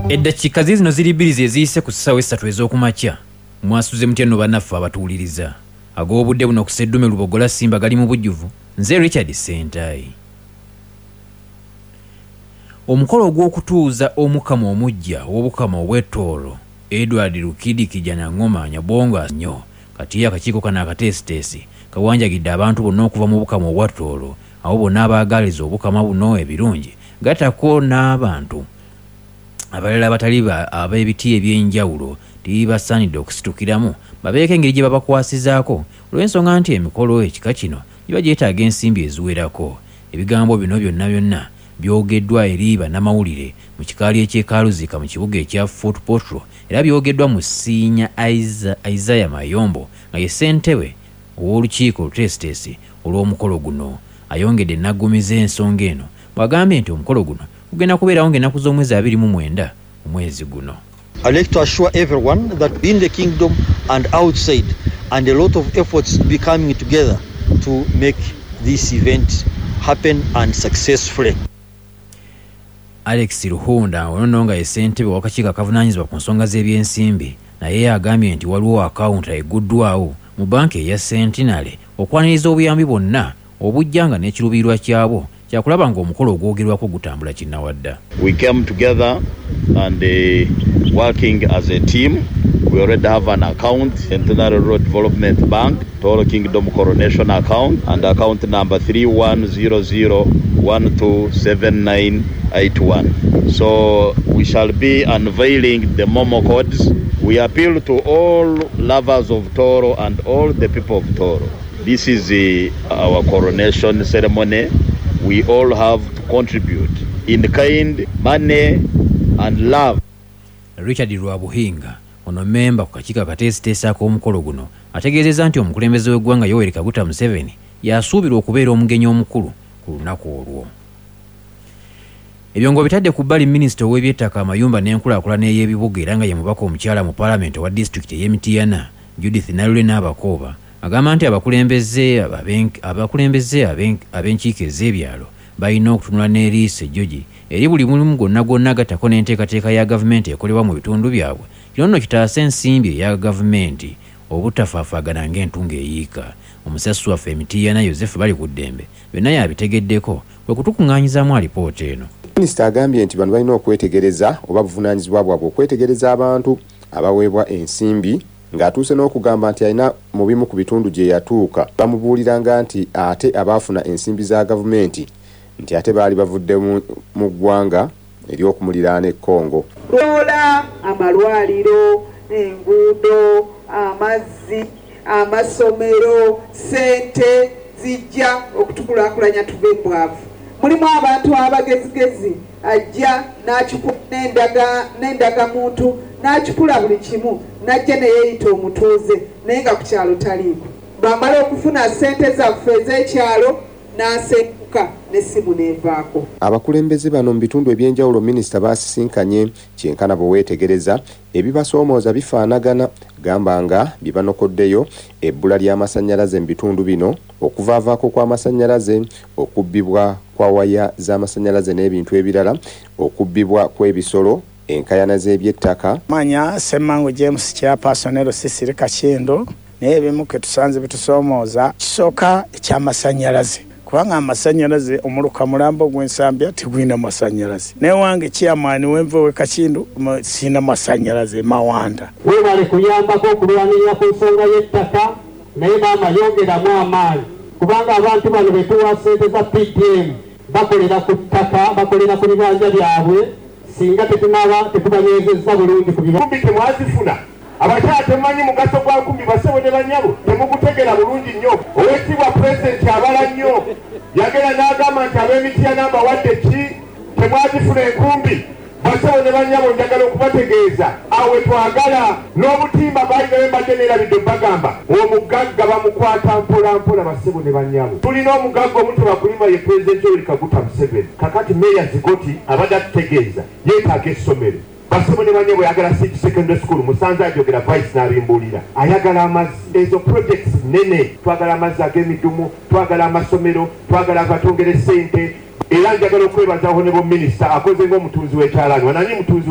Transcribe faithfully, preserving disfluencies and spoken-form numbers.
Eddakiika ziizino ziri bbiri ze ziyise ku ssaawa essatu ez'okumakya. Mwasuze mutya nno bannaffe abatuwuliriza? Ag'obudde buno ku Sseddume Lubogola Simba gali mu bujjuvu. Nze Richard Ssentayi. Omukolo ogw'okutuuza Omukama omuggya ow'Obukama obw'e Tooro, Edward Rukidi Kijanangoma Nyabongo nnyo. Kati akakiiko kano akateesiteesi kawanjagidde abantu bonna okuva mu Bukama obwa Tooro, abo bonna abaagaliza Obukama buno ebirungi, gattako n'abantu abalala abatali ab'ebiti eby'enjawulo tibasaanidde okusitukiramu babeeko engeri gye babakwasizaako, olw'ensonga nti emikolo ekika kino giba gyetaaga ensimbi eziwerako. Ebigambo bino byonna byonna byogeddwa eri bannamawulire mu kikaali eky'e Karuziika mu kibuga ekya Fort Portal, era byogeddwa Musiinya Isaiah Mayombo nga ye ssentebe ow'olukiiko oluteesiteesi olw'omukolo guno. Ayongedde n'aggumiza ensonga eno bw'agambye nti omukolo guno gugenda kubeerawo ng'ennaku z'omwezi abiri mu mwenda omwezi guno. I'd like to assure everyone that in the kingdom and outside, and a lot of efforts be coming together to make this event happen and successfully. Alex Ruhunda ono nno nga ye ssentebe w'akakiiko akavunaanyizibwa ku nsonga z'ebyensimbi, naye agambye nti waliwo akawunta egguddwawo mu banka eya Centenary okwaniriza obuyambi bwonna obujja, nga n'ekiruubirirwa kyabwo kyakulaba ng'omukolo ogwogerwako gutambula kinnawadda. We came together and uh, working as a team. We already have an account, Centenary Rural Development Bank, Tooro Kingdom Coronation Account, and account number three one zero zero one two seven nine eight one. So we shall be unveiling the MoMo codes. We appeal to all lovers of Tooro and all the people of Tooro. This is uh, our coronation ceremony. We all have to contribute in kind, money, and love. Richard Rwabuhinga ono memba ku kakiiko akateesiteesi ak'omukolo guno ategeezezza nti omukulembeze w'eggwanga Yoweri Kaguta Museveni yasuubirwa okubeera omugenyi omukulu ku lunaku olwo. Ebyongo bitadde ku bbali, minisita ow'ebyettaka, amayumba n'enkulaakulana ey'ebibuga era nga ye mubaka omukyala mu paalamenti owa disitulikiti ey'e Mityana, Judith Nalule N'Abakooba, agamba nti abakulembeze abakulembeze ab'enkiiko ez'ebyalo balina okutunula n'eriiso ejjogi eri buli mulimu gwonna gwonna, gattako n'enteekateeka ya gavumenti ekolebwa mu bitundu byabwe. Kino nno kitaasa ensimbi eya gavumenti obutafaafaagana ng'entungo eyiika. Omusasi waffe e Mityana, Yosefu Balikuddembe, byonna yabitegeddeko kwe kutukuŋŋaanyizaamu alipoota eno. Minisita agambye nti bano balina okwetegereza oba buvunaanyizibwa bwabwe okwetegereza abantu abaweebwa ensimbi, ng'atuuse n'okugamba nti alina mu bimu ku bitundu gye yatuuka bamubuuliranga nti ate abaafuna ensimbi za gavumenti nti ate baali bavudde mu ggwanga ery'okumuliraano e Congo. Loola amalwaliro, enguudo, amazzi, amasomero, sente zijja okutukulaakulanya tuve mu bwavu. Mulimu abantu abagezigezi, ajja n'endagamuntu n'akipula buli kimu, n'ajja neyeeyita omutuuze naye nga ku kyalo taliiko. Bw'amala okufuna ssente zaffe ez'ekyalo n'asenguka n'essimu n'evaako. Abakulembeze bano mu bitundu ebyenjawulo minisita baasisinkanye, kyenkana bwe weetegereza ebibasoomooza bifaanagana, gamba nga bye banokoddeyo ebbula ly'amasannyalaze mu bitundu bino, okuvaavaako kw'amasannyalaze, okubbibwa kwa waya z'amasannyalaze n'ebintu ebirala, okubbibwa kw'ebisolo, enkaayana z'ebyettaka. Manya Ssemmangu James, chairperson L C three Kakindu. Naye ebimu ke tusanze bitusoomooza, kisooka ekyamasannyalaze, kubanga amasannyalaze omuluka mulambo gw'Ensambya tegulina masannyalaze. Naye wange chairman wenva we Kakindu siina masannyalaze Mawanda. Weebale kuyambako okulwanirira ku nsonga y'ettaka, naye maama yongeramu amaanyi, kubanga abantu bano betuwa ssente za P D M bakolera ku ttaka, bakolera ku bibanja byabwe. Singa tetunaba tetubanywezezza bulungi ku bikumbi temwazifuna. Abakyala temumanyi mugaso gwa nkumbi. Basebo ne banyabo, temugutegera bulungi nnyo. Oweekitiibwa Pulezidenti abala nnyo, yagenda n'agamba nti ab'e Mityana mbawadde ki? Temwazifuna enkumbi. Basebo ne banyabo, njagala okubategeeza awe twagala n'obutimba balinayo. Mbadde neerabidde bagamba omugagga bamukwata mpola mpola. Basebo ne banyabo, tulina omugagga omu tebakulima, ye Pulezidenti Yoweri Kaguta Museveni. Kakati Meeya Zigoti abadde atutegeeza yeetaaga essomero. Basebo ne banyabo, ayagala Seed Secondary School. Musanze ajogera vice n'abimbuulira ayagala amazzi. Ezo projects nene. Twagala amazzi ag'emidumu, twagala amasomero, twagala abatongere ssente. Era njagala okwebaza Honorable Minisita, akoze ng'omutunzi w'ekyalaani wananyi mutunzi.